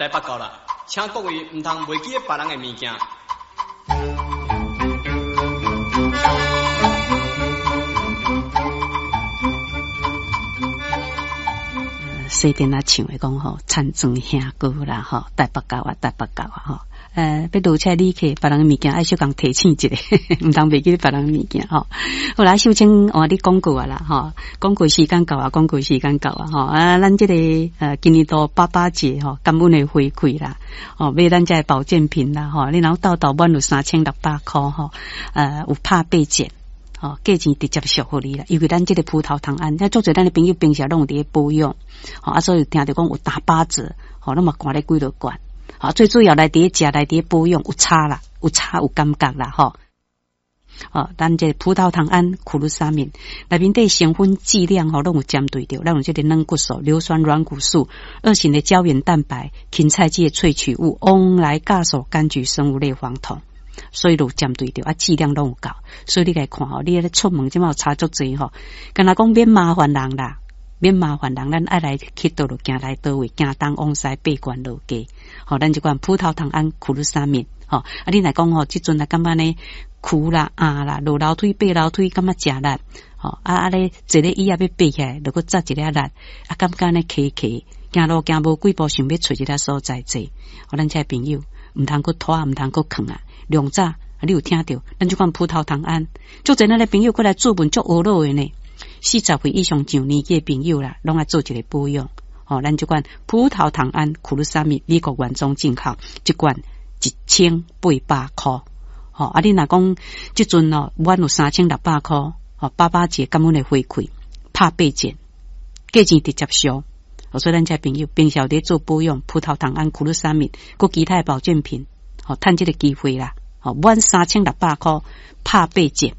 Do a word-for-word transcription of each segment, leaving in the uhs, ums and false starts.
台北到啦，請各位毋通袂記得別人的物件。細陣仔唱的講吼，田庄兄哥啦吼，台北到啊，台北到啊吼。呃，欲落車旅客，別人的物件愛小共提醒一下，毋通袂記得別人的物件吼。好啦，秀清換你廣告啊啦吼，廣告時間到啊，廣告時間到啊吼。啊，咱這個呃，今年度爸爸節吼，感恩的回饋啦，吼，買咱遮的保健品啦吼，你若鬥鬥滿有三千六百箍吼，呃，有拍八折。吼，價錢直接俗予你啦，因為咱這個葡萄糖胺，遐足濟咱的朋友平時攏有佇咧保養，吼啊，所以聽著講有打八折，吼，攏嘛寒咧幾落罐，吼，最主要來佇咧食，來佇咧保養有差啦，有差有感覺啦，吼。哦，咱這個葡萄糖胺、苦魯沙敏內面底成分劑量吼，攏有針對著，咱有這個軟骨素、硫酸軟骨素、二型的膠原蛋白、芹菜籽的萃取物、翁來酵素、柑橘生物類黃酮。所以就針對著啊，劑量攏有夠，所以你來看吼，你咧出門這馬有差足濟吼，敢若講免麻煩人啦，免麻煩人，咱愛來去佗就行來佗位，行東往西爬懸落低，吼，咱這款葡萄糖胺、苦魯沙敏，吼，啊，你若講吼，這陣啊感覺呢苦啦、壓啦、落樓梯、爬樓梯，感覺誠力，吼，啊啊咧坐咧椅仔欲爬起來，就閣扎一下力，啊，感覺呢騎騎，行路行無幾步，想欲揣一个所在坐，吼，咱這朋友毋通閣拖，毋通閣囥啊。量早，你有聽著？咱這款葡萄糖胺，足濟咱的朋友過來諮問足懊惱的呢。四十歲以上上年紀的朋友啦，攏愛做一個保養。吼，咱這款葡萄糖胺、苦魯沙米，美國原裝進口，一罐一千八百箍。吼，啊，你若講這陣哦，滿有三千六百箍，吼，爸爸節感恩的回饋，拍八折，價錢直接俗。所以咱這朋友平常佇做保養，葡萄糖胺、苦魯沙米，閣其他的保健品，吼，趁這個機會啦。吼，滿三千六百箍，拍八折，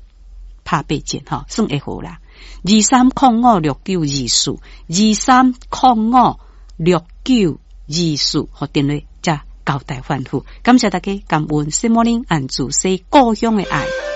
拍八折，吼，算會好啦。二三空五六九二四，二三空五六九二四，予電話才交代吩咐。感謝大家，感恩。Good morning，按主說故鄉的愛。